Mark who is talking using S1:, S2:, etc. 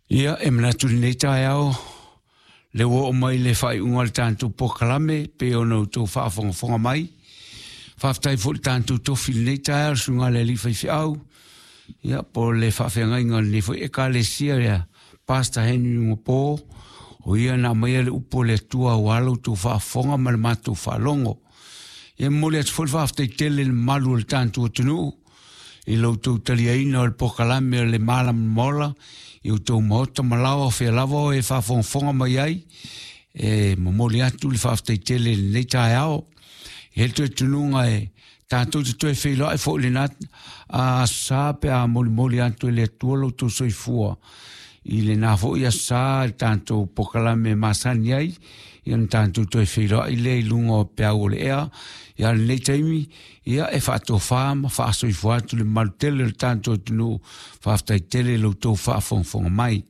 S1: Ia, e manatu i lenei taeao, le ua oo mai le faaiuga o le tatou polokalame pei ona outou faafogafoga mai. Faafetai foi i le tatou tofi i lenei taeao, le susuga i le Alii Faifeau, ia, po o le faafeagaiga o lenei foi Ekalesia, ia Pastor Henry Ugapo, o ia na aumaia le upu a le Atua aua la outou faafofoga ma le matou faalogo. Ia, e momoli atu foi le faafetai tele i le mamalu o le tatou atunuu i lo outou taliaina o le polokalame o le Malamalama Ola i outou maota ma laoa o fea lava o e faafogafoga mai ai. E momoli atu le faafetai tele i lenei taeao. E le toe tunuga e tatou te toe feiloai foi i lena aso Sa pe a molimoli atu e le Atua lo outou soifua i lena foi aso Sa i le tatou polokalame masani ai, ia ona tatou toe feiloai lea i luga o peau o le ea. Ia, lenei taimi, ia e faatofa ma faasoifua atu le mamalu tele o le tatou atunuu. Faafetai tele i lo outou faafogafoga mai.